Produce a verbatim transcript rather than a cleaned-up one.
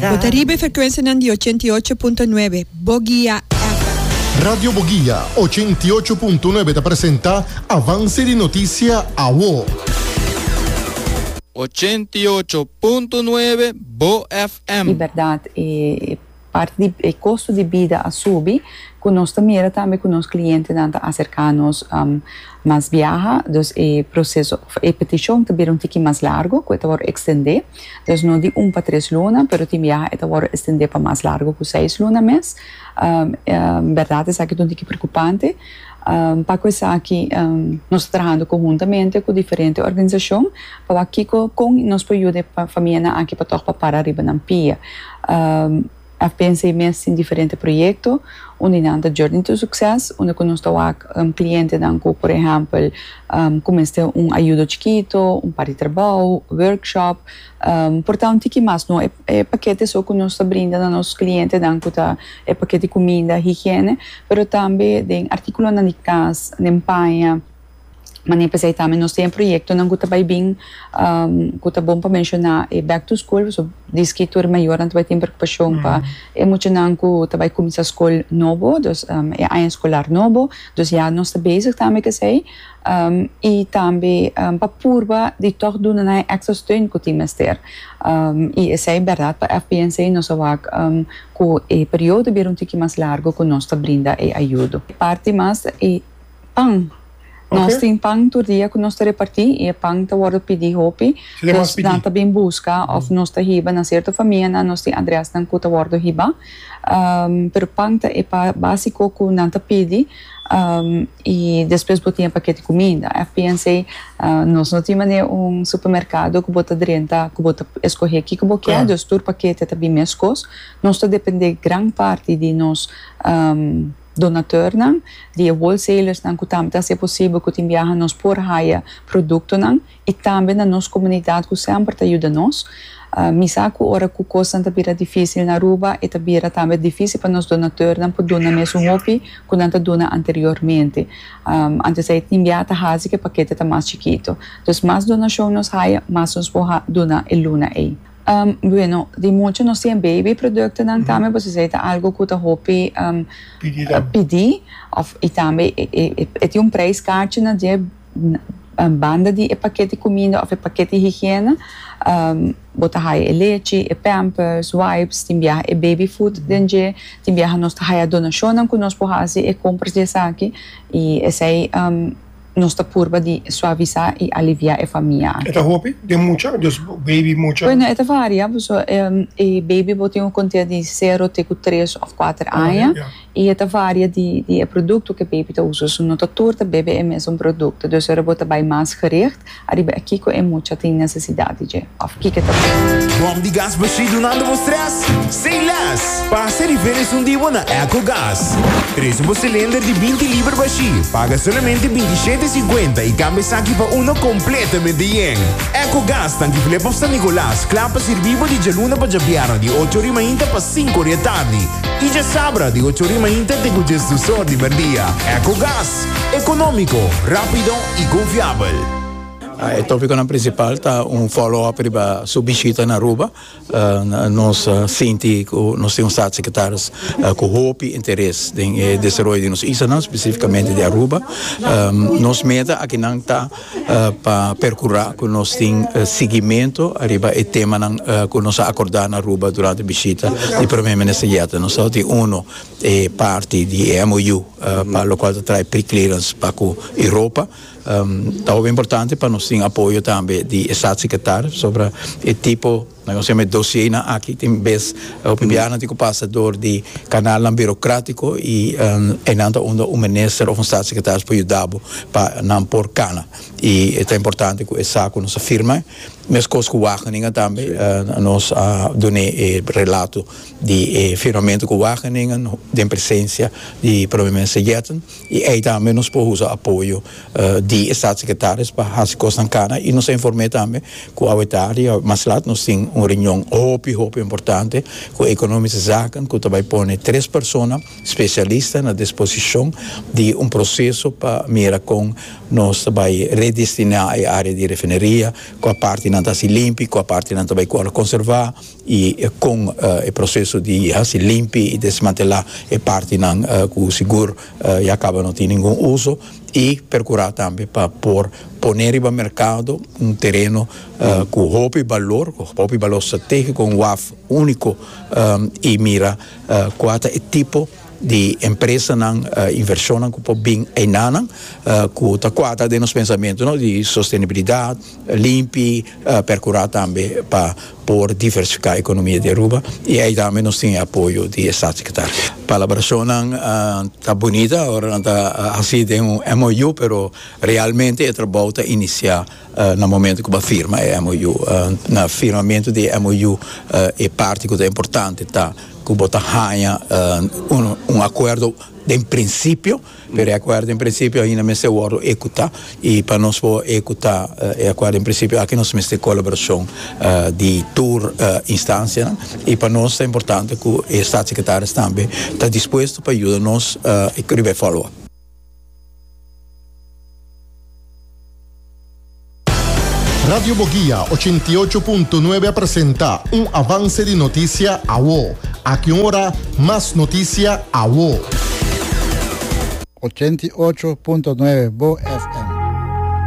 Bo ta riba e frekuensianan di ochenta i ocho punto nuebe, Boguia F M. Radio Boguia ochenta i ocho punto nuebe ta presenta Avance di Noticia Awo. Ochenta i ocho punto nuebe Bo F M. E bèrdat, e parti di e kosto di bida a subi, ku nos ta mira tambe ku nos klientenan ta aserká nos um, mas biaha, dus e proseso, e petishon ta bira un tiki mas largu, ku e ta wòrdu ekstendé, dus no di un pa tres luna, pero tin biaha e ta wòrdu ekstendé pa mas largu ku seis luna mes. Um, um, bèrdat, esaki ta un tiki preokupante. Um, pa ku esaki um, nos ta trahando konhuntamente ku diferente organisashon pa kiko kon nos por yuda e famianan aki pa toch pa para riba nan pia. Um, F P N C mes tin diferente proyekto, unda nan ta Journey to Success, unda ku nos ta wak un klientenan ku, por ehèmpel, um, kuminsá un ayudo chikitu, un par di trabou, workshop, um, por ta un tiki mas, no e, e pakete so ku nos ta brinda na nos klientenan ku ta e pakete di kuminda, higiene, pero tambe den artíkulonan di kas, den paña. Manera p'esei tambe nos tin proyektonan ku ta bai bin, um, ku ta bon pa menshoná e back to school, so diski tur mayornan bai tin preokupashon pa e muchanan ku ta bai kuminsá skol nobo, dus um, e aña eskolar nobo, dus ja, nos ta bezig tambe ku esei, um, i tambe um, pa purba di toch duna nan extra steun ku tin mester. Um, i esei bèrdat, pa F P N C nos a wak um, ku e periodo bira un tiki mas largu ku nos ta brinda e ayudo. Parti mas e pan. Nos Ok. tin pan tur dia ku nos ta repartí i e pan ta wòrdu pidí hopi. Si ta mas Dus pidí. nan ta bin buska òf nos ta hiba na sierto famianan, nos tin adrèsnan ku ta wòrdu hiba. Um, pero pan ta e pa básiko ku nan ta pidi. Um, i despues bo tin pakete di kuminda. F P N C, uh, nos no tin manera un supermerkado ku bo ta drenta, ku bo ta skohe kiko bo ke, Klaro. Dus tur pakete ta bin meskos. Nos ta dependé gran parti di nos um, donatornan, di wholesalers nan ku tambe ta hasi posibel ku tin biaha nos por haya produktonan i tambe na nos komunidat ku semper ta yuda nos. Uh, mi sa ku ora ku kosnan ta bira difísil na Aruba, e ta bira tambe difísil pa nos donatornan por duna mesun hopi ku nan ta duna anteriormente. Um, antes ei tin biaha ta hasi ku e pakete ta mas chikitu. Dus mas donashon nos haya, mas nos por ha- duna e luna ei. Um, bueno, di mucha nos tin baby productonan tambe, pasobra esei ta algu ku ta hopi um, Pidi uh, tambe. Pidi, of i tambe e, e, e, e tin un prijskaartje na dje um, banda di e pakete di kuminda òf e pakete di higiene. Um, bo ta haya e lechi, e pampers, wipes, tin biaha e baby food den dje, tin biaha nos ta haya donashon ku nos por hasi e kompras di esaki i esei um, nos ta purba di suavisá i aliviá e famia. E ta hopi, den mucha, dus baby mucha. Bueno, e ta varia, so, um, e baby bo tin un konta di sero te ku tres òf kuater aña. ja. I e ta varia di, di e produkto ku e baby ta usa. So, no ta tur ta bebe e mesun produkto. Dus ora bo ta bai mas gericht, ariba kiko e mucha tin nesesidat di dje. Òf kiko ta Bòm di gas bashí dunando bo stress? Say less! Pasa riba un dia na EcoGas. Trese un silinder di binti liber bashí. Paga solamente bintishete sinkuenta i kambia esaki pa uno kompletamente yen. EcoGas, tanki Flip of San Nicolas, kla pa sirbi di djaluna pa djabièrnè di ocho or di mainta pa sinku or di atardi. I djasabra di ocho or di mainta te diesdos or di mèrdia. EcoGas, ekonómiko, rápido i konfiabel. Ah, e tópiko prinsipal ta un follow-up riba su bishita na Aruba. Uh, nos uh, sinti ku nos tin un staatssecretaris uh, ku hopi interes den eh, desaroyo di nos isla, spesífikamente di Aruba. Um, nos meta akinan ta uh, pa perkurá ku nos tin uh, siguimentu riba e temanan uh, ku nos a akordá na Aruba durante e bishita di promé minister Jetten. Nos tin uno e parti di M O U uh, pa loke ta trata pre-clearance pa ku Europa. Um, ta importante pa nos tin apoyo tambe di staatssecretaris sobre e tipo, nos yama dossiernan aki, tin bes o pibiana tin ku pasa dor di kanal burokrátiko i um, e nan ta unda un minister òf un staatssecretaris por yuda pa nan por kana. I ta importante ku esaki nos a firma, meskos ku Wageningen tambe, uh, nos a duna e relato di eh, firmamentu ku Wageningen den presensia di promé minister Jetten i ei tambe nos por usa apoyo uh, di staatssecretaris pa hasi kosnan kana. I nos a informá tambe ku awe tardi mas lat nos tin Un reunion hopi hopi importante ku Economische Zaken, ku tambe pone tres persona spesialista na disposishon di un proseso pa mira kon nos ta bai redestiná e área di refineria, kua partinan ta limpi, kua partinan tambe ku konservá i ku uh, e proseso di hasi limpi i desmantelá e partinan uh, ku sigur uh, ya kaba no tin ningun uso i perkurá tambe pa por pone riba merkado un tereno uh, ku hopi balor, ku hopi balor stratégiko, un waf úniko um, i mira uh, kua ta e tipo di empresanan uh, invershon ku por bin einan uh, ku ta kuadra den nos pensamentu, no, di sostenibilidat limpi, uh, perkurá tambe pa por diversifiká ekonomia di Aruba i ei tambe nos tin apoyo di staatssecretaris. Palabrashon uh, ta bunita, ora nan ta hasi den un M O U, pero realmente e trabou ta inisiá uh, na momento ku firma e M O U. Uh, na firmamentu di M O U uh, e parti ku ta importante ta ku bo ta haña uh, un, un akuerdo di prinsipio, pero e akuerdo en prinsipio ainda mester wòrdu ehekutá i pa nos por ehekutá e akuerdo en prinsipio aki nos mester kolaborashon uh, di tur uh, instansia i pa nos ta importante ku e staatssecretaris tambe ta dispuesto pa yuda nos uh, i follow up. Radio Boguia ochenta i ocho punto nuebe a presentá un avance di notisia Awo. Aki ora, mas notisia Awo. ochenta i ocho punto nuebe Bo F M.